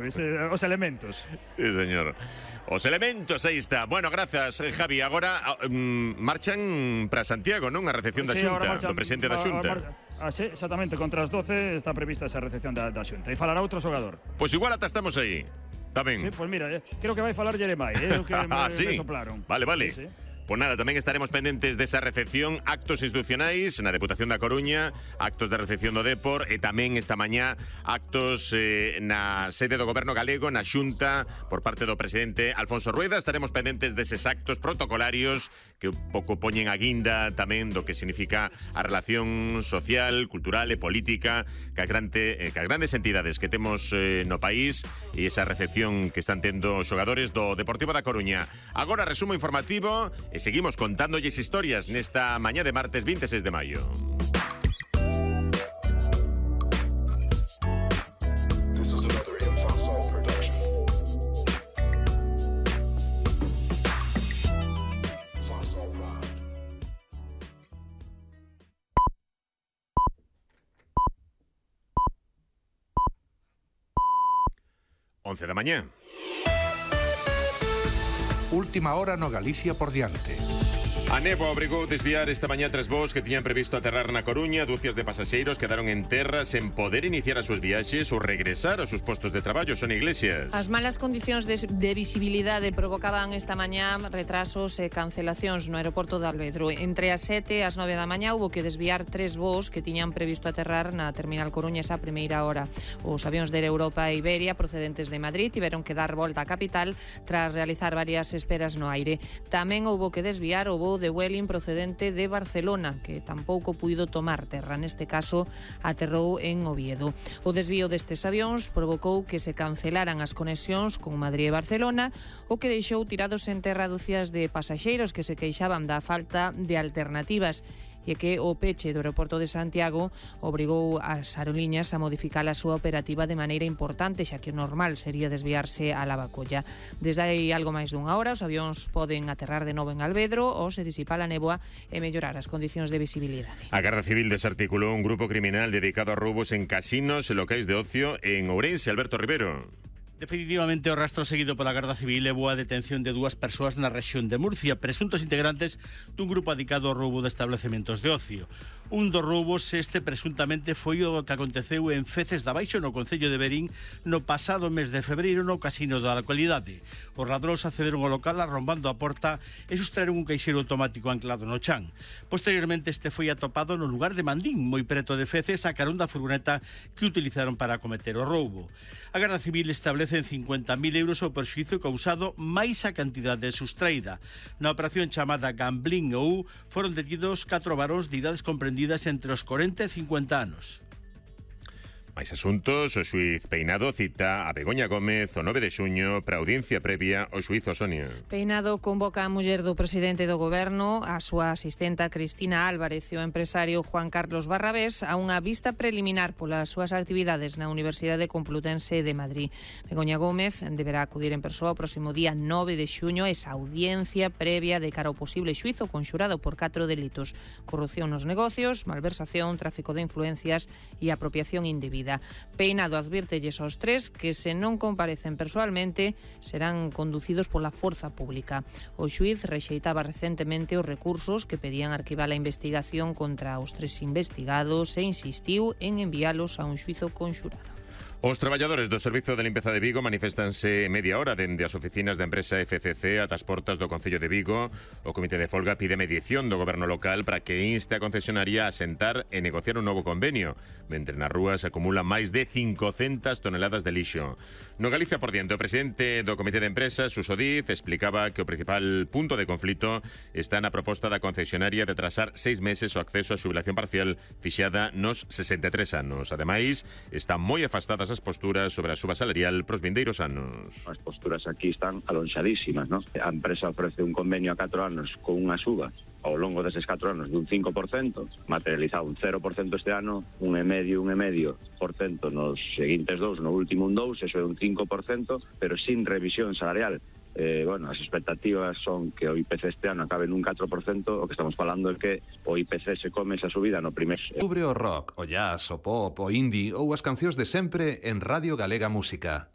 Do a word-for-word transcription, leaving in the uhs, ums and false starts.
Os elementos. Sí, señor. Os elementos, aí está. Bueno, grazas, Javi. Agora um, marchan para Santiago, non? A recepción da Sí, Xunta, marchan, do presidente da Xunta. Ah, sí, exactamente, contra as doce está prevista esa recepción da, da Xunta. E falará outro xogador. Pois pues igual ata estamos aí. Tamén. Sí, pois pues mira, eh, creo que vai falar Jeremai, eh, o que me, ah, sí. me soplaron. Vale, vale. Sí, sí. Pues nada, tamén estaremos pendentes desa recepción, actos institucionais na Deputación da Coruña, actos de recepción do Depor e tamén esta mañá actos eh, na sede do Goberno galego, na Xunta, por parte do presidente Alfonso Rueda. Estaremos pendentes deses actos protocolarios que un pouco poñen a guinda tamén do que significa a relación social, cultural e política que as grande, eh, que as grandes entidades que temos eh, no país e esa recepción que están tendo os xogadores do Deportivo da Coruña. Agora, resumo informativo e seguimos contándolles historias nesta mañá de martes veintiséis de maio. once da mañá. Última hora no Galicia por diante. A néboa obrigou desviar esta mañá tres voos que tiñan previsto aterrar na Coruña. Dúcias de pasaxeiros quedaron en terra sen poder iniciar as súas viaxes ou regresar aos seus postos de traballo. Son Iglesias. As malas condicións de, de visibilidade provocaban esta mañá retrasos e cancelacións no aeroporto de Alvedro. Entre as sete e as nove da mañá hubo que desviar tres voos que tiñan previsto aterrar na terminal Coruña esa primeira hora. Os avións de Europa e Iberia procedentes de Madrid tiveron que dar volta á capital tras realizar varias esperas no aire. Tamén houbo que desviar o voo de Vueling procedente de Barcelona, que tampouco puido tomar terra. Neste caso, aterrou en Oviedo. O desvío destes avións provocou que se cancelaran as conexións con Madrid e Barcelona, o que deixou tirados en terra dúcias de pasaxeiros que se queixaban da falta de alternativas e que o peche do aeroporto de Santiago obrigou as aerolíneas a modificar a súa operativa de maneira importante, xa que o normal sería desviarse a Lavacolla. Desde aí algo máis dunha hora, os avións poden aterrar de novo en Alvedro ou se disipa a néboa e mellorar as condicións de visibilidade. A Garda Civil desarticulou un grupo criminal dedicado a roubos en casinos e locais de ocio en Ourense. Alberto Rivero. Definitivamente o rastro seguido pola Garda Civil levou a detención de dúas persoas na rexión de Murcia, presuntos integrantes dun grupo dedicado ao roubo de establecementos de ocio. Un dos roubos este presuntamente foi o que aconteceu en Feces da Baixo, no concello de Verín, no pasado mes de febreiro no casino da localidade. Os ladróns accederon ao local arrombando a porta e sustraeron un caixeiro automático anclado no chan. Posteriormente este foi atopado no lugar de Mandín, moi preto de Feces, a carón da furgoneta que utilizaron para cometer o roubo. A Garda Civil establece en cincuenta mil euros o perxuízo causado máis a cantidade sustraída. Na operación chamada Gambling ou foron detidos catro varóns de idades comprendidas entre os cuarenta e cincuenta anos. Máis asuntos, o xuiz Peinado cita a Begoña Gómez o nove de xuño para audiencia previa ao xuízo Sonia. Peinado convoca a muller do presidente do goberno, a súa asistenta Cristina Álvarez e o empresario Juan Carlos Barrabés a unha vista preliminar polas súas actividades na Universidade Complutense de Madrid. Begoña Gómez deberá acudir en persoa o próximo día nove de xuño a esa audiencia previa de cara ao posible xuízo conxurado por catro delitos: corrupción nos negocios, malversación, tráfico de influencias e apropiación indebida. Peinado advírtelles aos tres que se non comparecen persoalmente serán conducidos pola forza pública. O xuíz rexeitaba recentemente os recursos que pedían arquivar a investigación contra os tres investigados e insistiu en enviálos a un xuízo conxurado. Os traballadores do Servizo de Limpeza de Vigo manifestanse media hora dende as oficinas da empresa F C C ata as portas do Concello de Vigo. O Comité de Folga pide mediación do goberno local para que inste a concesionaria a sentar e negociar un novo convenio, mentre nas rúas se acumulan máis de cincocentas toneladas de lixo. No Galicia por diante, o presidente do Comité de Empresas, Suso Diz, explicaba que o principal punto de conflito está na proposta da concesionaria de atrasar seis meses o acceso á xubilación parcial fixada nos sesenta e tres anos. Ademais, están moi afastadas as posturas sobre a suba salarial pros vindeiros anos. As posturas aquí están alonxadísimas, non? A empresa ofrece un convenio a catro anos con unha suba ao longo deses catro anos dun cinco por cento, materializado un cero por cento este ano, un e medio, un e medio por cento nos seguintes dous, no último un dous, eso é un cinco por cento, pero sin revisión salarial. Eh, bueno, as expectativas son que o I P C este ano acabe nun catro por cento. O que estamos falando é que o I P C se come esa subida no primer... Cubre o rock, o jazz, o pop, o indie ou as cancións de sempre en Radio Galega Música.